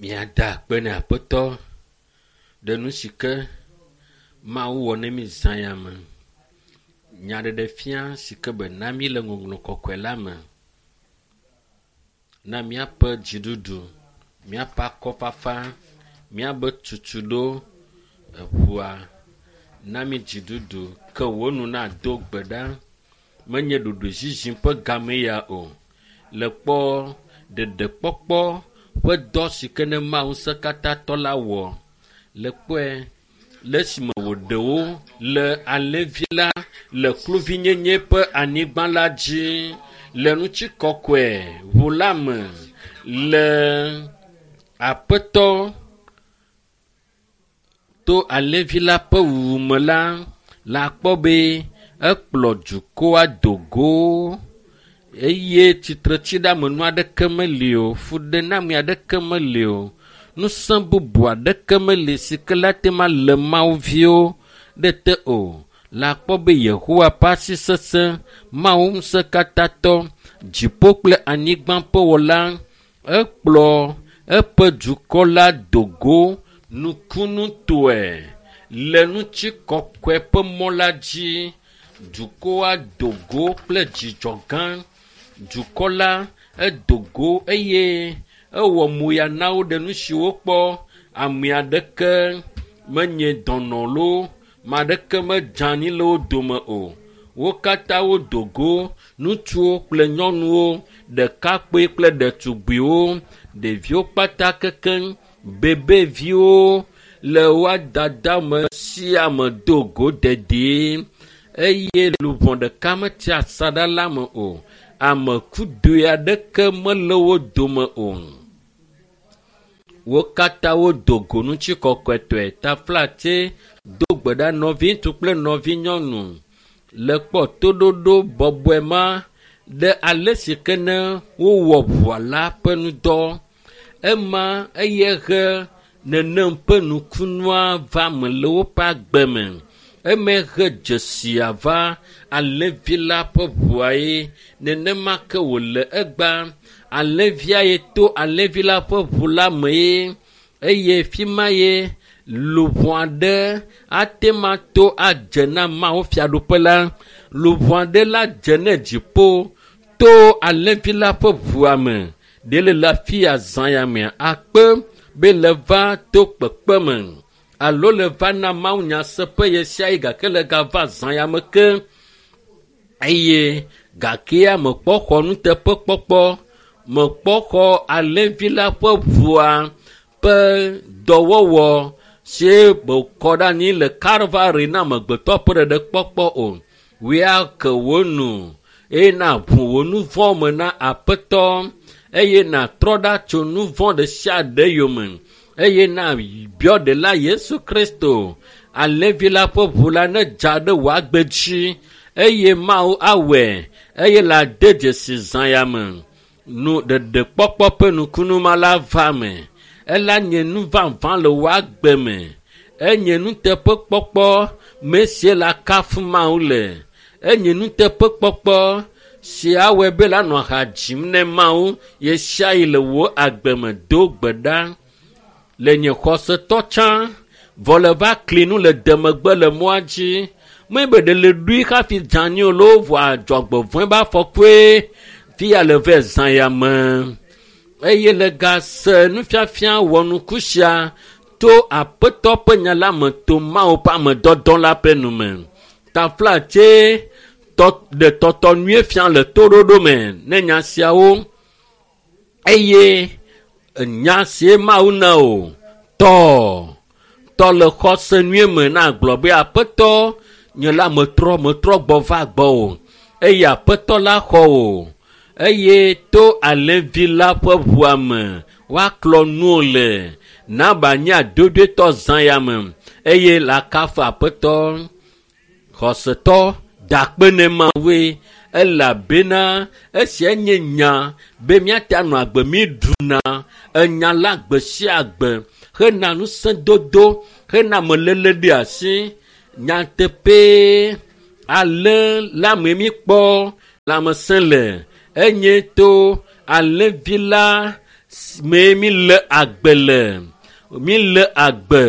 Míada akpe ne Aƒetɔ ɖe nu si ke Mawu wɔ ne mí zã ya me. Nyaɖeɖefia si ke be na mí le ŋɔŋlɔ kɔkɔe la me. Na míaƒe dziɖuɖu, míaƒe akɔfafa, míabe tutuɖo eŋua na mí dziɖuɖu ke wò nu nado gbe ɖa. Menye ɖoɖoezizi ƒe game ya o. Le kpɔ ɖeɖekpɔkpɔ ƒe dɔ si ke ne Mawu ŋusẽkatãtɔ la wɔ. Le kpɔe le esime wòɖe wo le alẽvi la le kluvinyenye ƒe anyigba la dzi le ŋutikɔkɔe ʋu la me le Aƒetɔ to alẽvi la ƒe wuwu me la, la kpɔ be ekplɔ dukɔa do go eye tsitretsiɖeamenu aɖeke meli o, fuɖename aɖeke meli o, ŋusẽ bubu aɖeke meli si ke la te ma le Mawu viwo ɖe te o. La kpɔ be Yehowa ƒe asi sesẽ, Mawu ŋusẽkatãtɔ, dziƒo kple anyigba ƒe wɔla, ekplɔ eƒe dukɔ la do go nukunutɔe le ŋutikɔkɔe ƒe mɔ la dzi. Dukɔa do go kple dzidzɔ gã. Dukɔ la edo go eye ewɔ moya na wo ɖe nu si wokpɔ. Ame aɖeke menye dɔnɔ loo, ame aɖeke medze anyi le wo dome o. Wo katã wodo go, ŋutsuwo kple nyɔnuwo, ɖekakpui kple ɖetugbiwo, ɖeviwo kpata kekeŋ, bebeviwo le woa dada me sia ame do go dedie eye luʋɔ ɖeka metsi asaɖa la me o. Ame kudoe aɖeke mele wo dome o. Wo katã wodo go ŋutikɔkɔetɔe. Taflatse do gbe ɖa nɔviŋutsu kple nɔvinyɔnu le kpɔ toɖoɖo bɔbɔe ma ɖe ale si ke ne wowɔ ʋua la ƒe ŋudɔ. Ema eye he nenem ƒe nukunua va me le woƒe agbe me. Eme he dzesia va alẽvi la ƒe ʋua ye. Nenema ke wòle egbea. Alẽvia ye to alẽvi la ƒe ʋu la me ye eye fi ma ye luʋɔ aɖe ate ma to adze na Mawu fiaɖuƒe la. Luʋɔ aɖe la dze ne dziƒo to alẽvi la ƒe ʋua me. Ɖe le le afi ya zã ya mea akpe be le va to kpekpe me alo le va na Mawu nyaseƒe ɣe sia ɣi gake le gava zã ya me ke eye gakea mekpɔ xɔ nuteƒekpɔkpɔ mekpɔ xɔ alẽvi la ƒe ʋua ƒe dɔwɔwɔ si wòkɔ ɖe anyi le Kalvari na amegbetɔ ƒe ɖeɖekpɔkpɔ o. Wòe ke wò nu eye nàʋu wò nu vɔ̃ me na Aƒetɔ eye nàtrɔ ɖa tso nu vɔ̃ ɖe sia ɖe yome eye nàbiɔ ɖela Yesu Kristo alẽvi la ƒe ʋu la nedza ɖe wò agbe dzi eye Mawu awɔe eye la de dzesi zã ya me. Nu ɖeɖekpɔkpɔ ƒe nukunu ma la va me. Ela nye nu vavã le wò agbe me. Enye nuteƒekpɔkpɔ me sie la kafu Mawu le. Enye nuteƒekpɔkpɔ si awɔe be la nɔ ha dzim ne Mawu ɣe sia ɣi le wò agbe me. Do gbe ɖa le nye xɔsetɔ tsã vɔ le va kli nu le demegbe le mɔa dzi. Menye be ɖe le ɖui hafi dze anyi o loo vɔa dzɔgbevɔ̃e be afɔkue fi ya le vɛ zã ya me. Eye le gase nufiafia wɔnuku sia to Aƒetɔ ƒe nya la me to Mawu ƒe amedɔdɔ la ƒe nu me. Taflatse tɔ ɖe tɔtɔ nyuie fia le toɖoɖo me ne nya siawo eye nya sie Mawu na o tɔ tɔ le xɔse nyuie me na gblɔ be Aƒetɔ nye la metrɔ metrɔ gbɔ va gbɔwò eye Aƒetɔ la xɔ wò eye to alẽvi la ƒe ʋua me woaklɔ nuwò le naba nye adodoetɔ zã ya me eye la kafu Aƒetɔ. Xɔsetɔ da akpe ne Mawue elabena esia nye nya be míate anɔ agbe mí ɖuna enya la gbe sia gbe hena ŋusẽdodo hena ameléle ɖe asi. Nyateƒee ale la me míkpɔ lãmesẽ le enye to alẽvi la mee mi le agbe le mi le agbe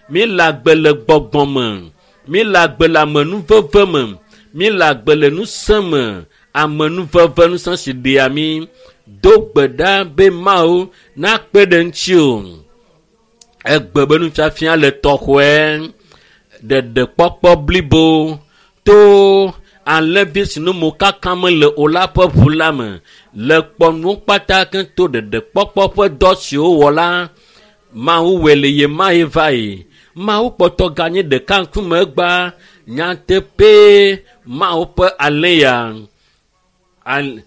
mi le agbe le gbɔgbɔ me mi le agbe le amenuveve me mi le agbe le ŋusẽ me amenuveve ŋusẽ si ɖea mi do gbe ɖa be Mawu nakpe ɖe ŋuti o. Egbe be nufiafia le tɔxɔe ɖeɖekpɔkpɔ blibo to alẽvi si nu mokaka mele o la ƒe ʋu la me le kpɔnuwo kpata ke to ɖeɖekpɔkpɔ ƒe dɔ si wowɔ la Mawu wɔe le ye ma yi va yi. Mawu kpɔtɔ ganye ɖeka ŋkume egba nyateƒee Mawu ƒe alẽ ya al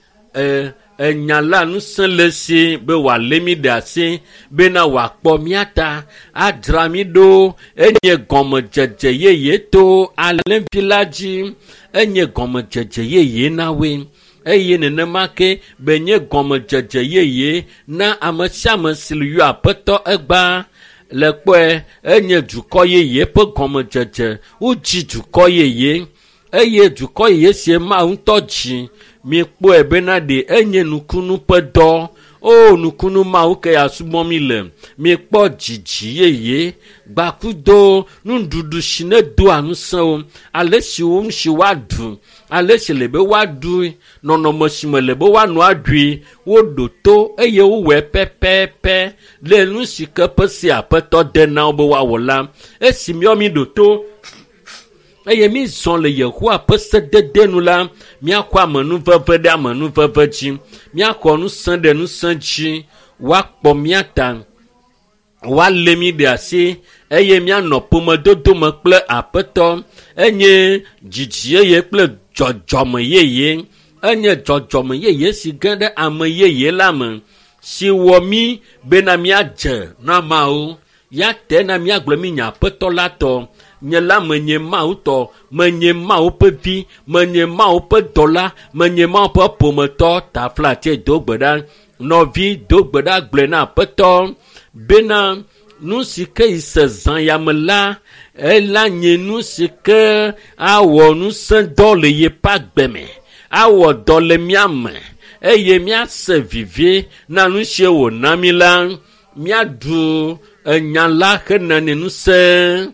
enya la ŋusẽ le si be wòalé mí ɖe asi bena wòakpɔ mía ta adzra mí ɖo enye gɔmedzedze yeye to alẽvi la dzi enye gɔmedzedze yeye na woe eye nenema ke be nye gɔmedzedze yeye na ame sia ame si le yɔ aƒetɔ egba le kpɔe enye dukɔ yeye ƒe gɔmedzedze wodzi dukɔ yeye eye dukɔ yeye sie Mawu ŋutɔ dzi mikpɔe bena ɖe enye nukunu ƒe dɔ o nukunu Mawu ke ya subɔ mi le mikpɔ dzidzi yeye gbakudo nuɖuɖu si ne doa ŋusẽ wo ale si wo si woaɖu ale si le be woaɖu nɔnɔme si me le be woanɔ aɖui woɖo to eye wowɔe pɛpɛpɛ le nu si ke ƒe si aƒetɔ de na wo be woawɔ la esi míawo mi ɖo to eye mi zɔ le Yehowa ƒe sedede nu la míaxɔ amenuveve ɖe amenuveve dzi míaxɔ ŋusẽ ɖe ŋusẽ dzi woakpɔ mía ta woalé mí ɖe asi eye míanɔ ƒomedodo me kple aƒetɔ enye dzidzi yeye kple dzɔdzɔme yeye enye dzɔdzɔme yeye si ge ɖe ame yeye la me si wɔ mí bena míadze na Mawu ya te na míagblɔ mí nye aƒetɔ la tɔ nye la menye Mawu tɔ menye Mawu ƒe vi menye Mawu ƒe dɔla menye Mawu ƒe ƒometɔ taflatse do gbe ɖa nɔvi do gbe ɖa gblɔe na aƒetɔ bena nu si ke yi se zã ya me la ela nye nu si ke awɔ ŋusẽ dɔ le yeƒe agbe me awɔ dɔ le mía me eye míase vivi na nu si wòna mí la míaɖu enya la hena ne ŋusẽ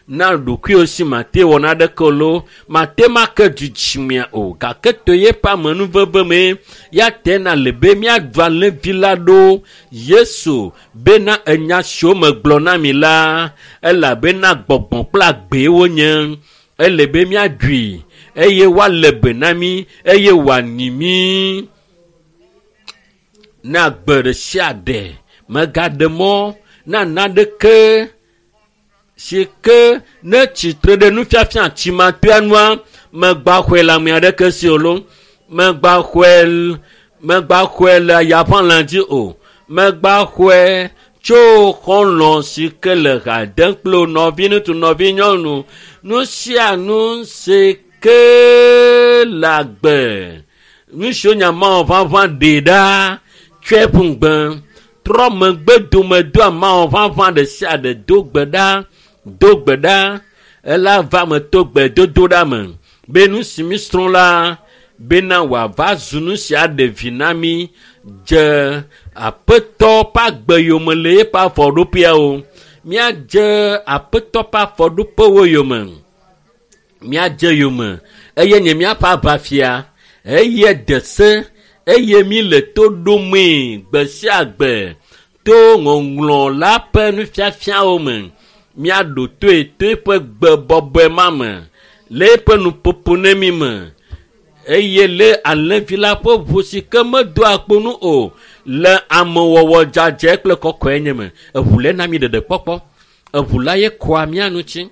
na ɖokuiwò si mate wɔ naɖeke o lo mate ma ke dzidzimea o gake to yeƒe amenuveve me ya te na le be míaɖu alẽvi la ɖo Yesu bena enya siwo megblɔ na mi la elabena gbɔgbɔ kple agbee wonye ele be míaɖui eye woalé be na mí eye wòanyi mí na agbe ɖe sia ɖe megaɖe mɔ na naɖeke si ke ne tsitre ɖe nufiafia tsimatoa nua megba xɔe le ame aɖeke si o lo megba xɔe megba xɔe le yaʋalã dzi o megba xɔe tso xɔlɔ̃ si ke le ha dem kple nɔvi ŋutsu nɔvi nyɔnu nu sia nu si ke le agbe nu siwo nya Mawu ʋaʋã ɖe ɖa tsɔe ƒu ŋugbe trɔ megbe dome do Mawu ʋaʋã ɖe sia ɖe do gbe ɖa do gbe ɖa ela va me to gbe dodo ɖa me be nu si mi srɔ̃ la bena wòava zu nu si aɖe vi na mi dze aƒetɔ ƒe agbe yome le eƒe afɔɖoƒeawo míadze aƒetɔ ƒe afɔɖoƒewo yome míadze yome eye nye míaƒe aʋafia eye de se eye mi le to ɖomee gbe sia gbe to ŋɔŋlɔ la ƒe nufiafiawo me míaɖo toe to eƒe gbe bɔbɔe ma me le eƒe nuƒoƒo ne mi me eye le alẽvi la ƒe ʋu si ke medoa kpo nu o le amewɔwɔ dzadzɛ kple kɔkɔe nye me eʋu le na mi ɖeɖe kpɔkpɔ eʋu la ye kɔa mía nu tsi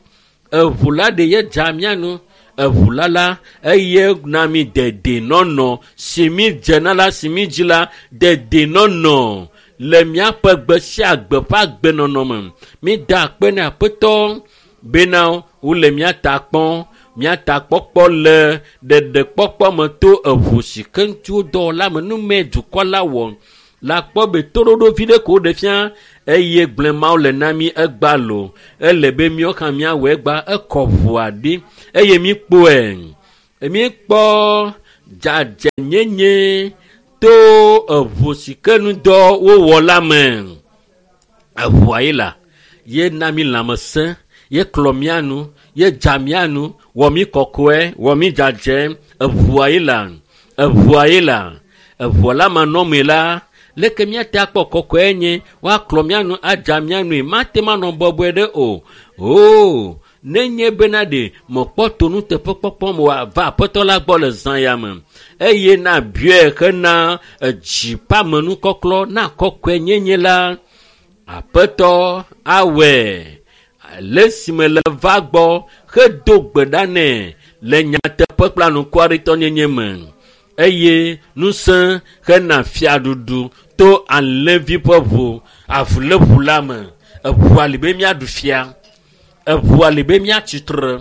eʋu la ɖe ye dza mía nu eʋu la la eye na mi dedenɔnɔ si mi dzena la si mi dzi la dedenɔnɔ le míaƒe gbe sia gbe ƒe agbenɔnɔ me mi da akpe na aƒetɔ bena wole mía ta kpɔm mía ta kpɔkpɔ le ɖeɖekpɔkpɔ me to eʋu si ke ŋuti wodɔ la me nume dukɔ la wɔ la kpɔ be toɖoɖo vi ɖe ko woɖe fia eye gblẽ Mawu le na mí egba lo ele be míawo hã míawɔ egba ekɔ ʋua ɖi eye míkpɔe míkpɔ dzadzɛnyenye To eʋu si ke ŋudɔ wowɔ la me. Eʋua ye la ye na mi lãmesẽ, ye klɔ mía nu, ye dza mía nu, wɔ mí kɔkɔe, wɔ mí dzadzɛ. Eʋua ye la, eʋua ye la, eʋua la manɔmee la, leke míate akpɔ kɔkɔe nye woaklɔ mía nu adza mía nui mate manɔ bɔbɔe ɖe o. Oo, nenye bena ɖe mekpɔ to nuteƒekpɔkpɔ me wòava aƒetɔ la gbɔ le zã ya me eye na biɔe hena edzi ƒe amenukɔklɔ na kɔkɔe nyenye la, aƒetɔ awɔe le esime le va gbɔ hedo gbe ɖa nɛ le nyateƒe kple anukwaritɔnyenye me eye ŋusẽ hena fiaɖuɖu to alẽvi ƒe ʋu avuléʋu la me. Eʋua li be míaɖu fia, eʋua li be míatsi tre,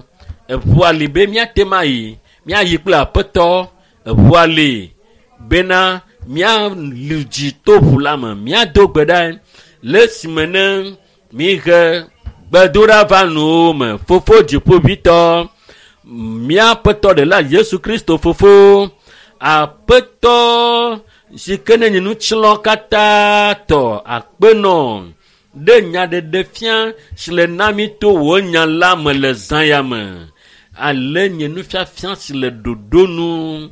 eʋua li be míate ma yi, míayi kple aƒetɔ, eʋua li bena míali dzi to ʋu la me, míado gbe ɖa le esime ne mihe gbedoɖa va nuwo me. Fofo dziƒoʋĩtɔ, míaƒetɔ ɖela Yesu Kristo fofo, aƒetɔ si ke ne nye nutsilɔ katã tɔ akpenɔ ɖe nyaɖeɖe fia si le na mi to wò nya la me le zã ya me. Ale nye nufiafia si le ɖoɖo nu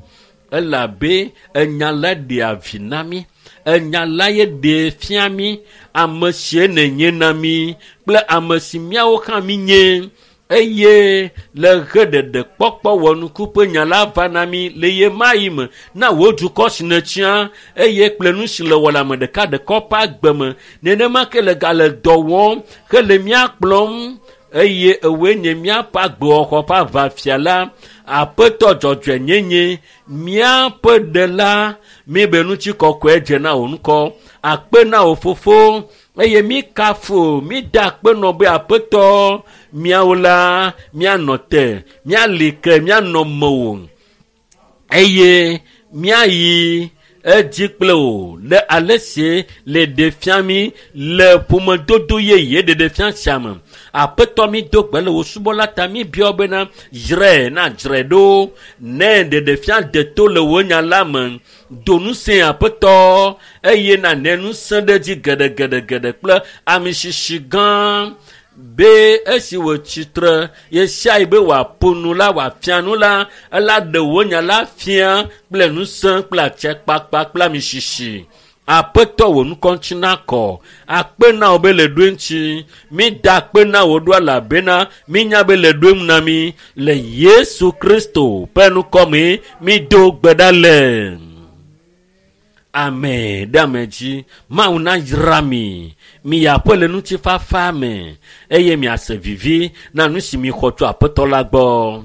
elabe enya la ɖea vi na mí. Enya la ye ɖee fia mí ame sie nènye na mí kple ame si míawo hã mínye eye le ɣeɖeɖe kpɔkpɔ wɔnuku ƒe nya la va na mí le ɣe ma ɣi me na wò dukɔ si nètsã eye kple nu si le wɔ le ame ɖekaɖeka ƒe agbe me. Nenema ke le gale dɔ wɔm hele mía kplɔm eye ewòe nye míaƒe agbewɔxɔ ƒe aʋafia la, aƒetɔ dzɔdzɔenyenye, míaƒe ɖela, míebe ŋutikɔkɔe dze na wò ŋkɔ. Akpe na wò fofo eye mí kafu mí da akpe nɔ be aƒetɔ míawo la míanɔ te, míali ke, míanɔ mewò eye míayi edzi kple wò le ale si le ɖe fia mí le ƒomedodo yeye ɖeɖe fia sia me. Aƒetɔ mi do gbe le wò subɔla ta mi biɔ bena dzrae na dzrae ɖo ne ɖeɖe fia deto le wò nya la me. Do ŋusẽ aƒetɔ eye nàne ŋusẽ ɖe edzi geɖegeɖegeɖe kple amisisi gã be esi wòtsi tre ɣesiaɣi be wòaƒo nu la, wòafia nu la, ela ɖe wò nya la fia kple ŋusẽ kple atsekpakpa kple amisisi. Aƒetɔ wò ŋkɔ ŋuti nakɔ. Akpe na wò be le ɖoe ŋuti. Mída akpe na wò ɖo elabena mínya be le ɖoe ŋu na mí. Le Yesu Kristo ƒe ŋkɔ mee mído gbe ɖa le. Ame ɖe ame dzi. Mawu nayra mi. Miyi aƒe le ŋutifafa me eye miase vivi na nu si mixɔ tso aƒetɔ la gbɔ.